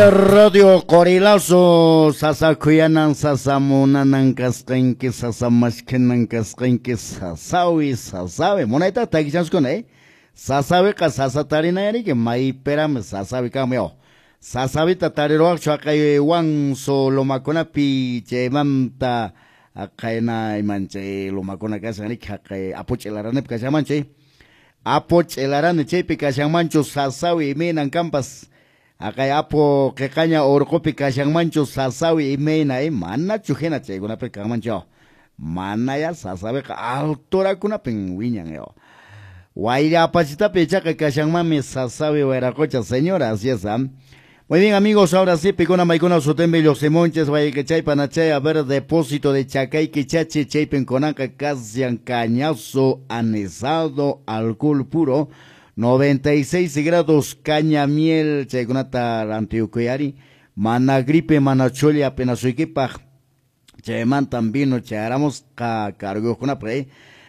Radio Qorilazo, sasa khuyanan, sasa munanan kasqanki, sasa mashkhanan kasqanki, sasawi, sasawi. Munayta takichaskuna, eh? Sasawiqa sasa tarinayariki, maypirami sasawi kanmi, oh. Sasawita tariruwaqchu haqay wanso lomakunapi chaymanta haqayna iman chay lomakuna kashan riki haqay Apu Ch'ilaranipi kashanmanchu, eh? Apu Ch'ilarani chaypi kashanmanchu sasawi imaynan kanpas. Haqay Apu qiqaña urqupi kashanmanchu sasawi imayna, eh? Manachu hina chaykunapi kanmanchu. Manaya sasawiqa alturakunapin wiñan, eh. Wayra apachitapi ichaqa kashanmanmi sasawi wayraqucha, señora, así es, ¿ah? Muy bien, amigos, ahora sí, picuna maicuna sutembi los simonches, chay panachay, a ver, depósito de chacay, quichachi, chaypen conanca, casian, cañazo, anisado, alcohol puro, 96 grados, caña miel, chaykunata antiyukuyari, mana gripe, mana choli, apenas suikipaj, chaymantan vino, chayramos, ka, cargo,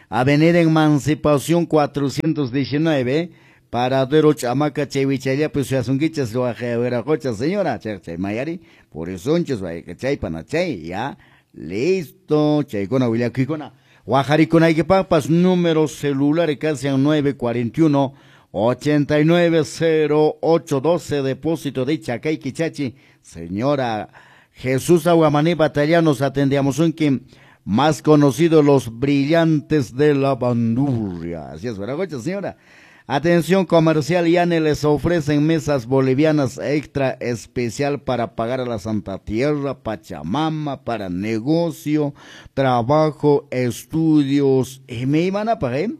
Avenida Emancipación 419, Paradero Chamaca, Chevichaya, pues Yasunquichas, Guajehueracocha, señora, Chay Mayari, por eso, Chay Panachay, ya, listo, Chaykuna, Willakuykuna, Guajaricuna, y papas, número celular, casi 941 890812, depósito de Chacay Quichachi, señora Jesús Aguamaní Batalla, nos atendíamos un quien más conocido, los brillantes de la bandurria. Así es, ¿verdad, señora? Atención comercial, Yane les ofrecen mesas bolivianas extra especial para pagar a la Santa Tierra, Pachamama, para negocio, trabajo, estudios. Y me iban a pagar,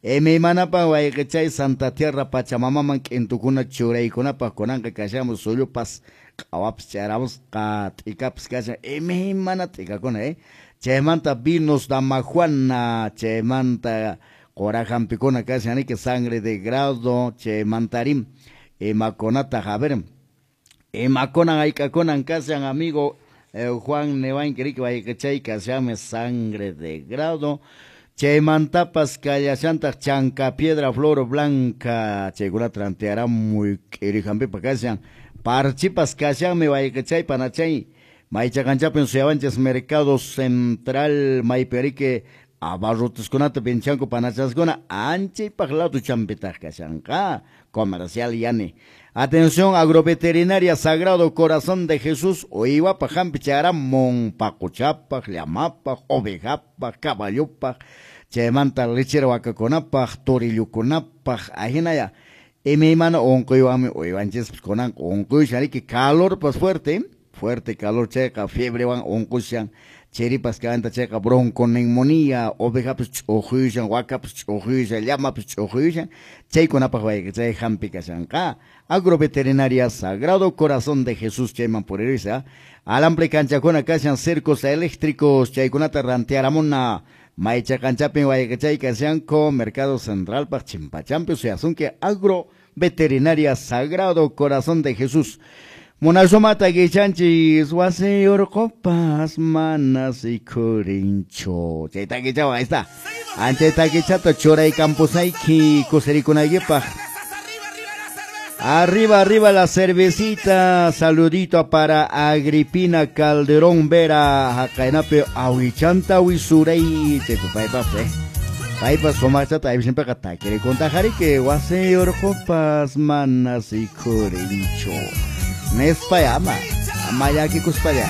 ¿eh? Me iban a pagar, chay Santa Tierra, Pachamama, man, q'intukuna churaykunapaq kunanqa kashamos suyupas, q'awapas charamos, t'ikapas kashan, imaymana t'ikakuna, ¿eh? Chaymanta vinos damajuana, chaymanta qorajampikuna kashan, que sangre de grado, chaymantarim, imakunata, a ver, imakunan aykakunan kashan, amigo Juan Nevain, que chay kashame sangre de grado, chaymantapas kallashantaq chanca piedra flor blanca, chaykunata ranteará muy k'irihampipa kashan, parchipas kashanmi wayqichay panachay, maychaqanchapin suyawanchis mercado central maypirique abarrotiskunata pinchanku panachaskuna anchaypaq lado champitaq kashanqa comercial yani. Atención agroveterinaria Sagrado Corazón de Jesús, uywapaq hampi chayaramun paquchapaq, llamapaq, ovejapaq, caballopaq, chaymanta lechera wakakunapaq, torillukunapaq, ahinaya. Imaymana unquywanmi uywanchispas kunanqa unquyushan riki calorpas fuerte, fuerte calor chayqa fiebrewan unqushan, chiripas kanta chayqa bronconeumonía, ovejapas ch'uquyushan, wakapas ch'uquyushan, llamapas ch'uquyushan, chaykunapaq wayqa chay hampi kashanqa. Agroveterinaria Sagrado Corazón de Jesús chayman puririsa, alambre kanchakuna kashan cercos eléctricos, chaykunata rantearamuna, maycha kanchapin wayqa chay kashanko, Mercado Central paq chimpachampi suyasunki Agroveterinaria Sagrado Corazón de Jesús. Munasumata guichanchis, wasi urqupas manas y kurincho. Chayta guichawa, ahí está. Anchayta guichata churay campusayki kusirikunaykipaq. Arriba, arriba la cervecita. Saludito para Agripina Calderón Vera, haqaynapi awichanta wisuray. Chaypaypas, paypas sumaqchata aypishimpiqa takirikuntajariki wasi urqupas manas y kurincho. Nespaya ama, ama llakikuspalla.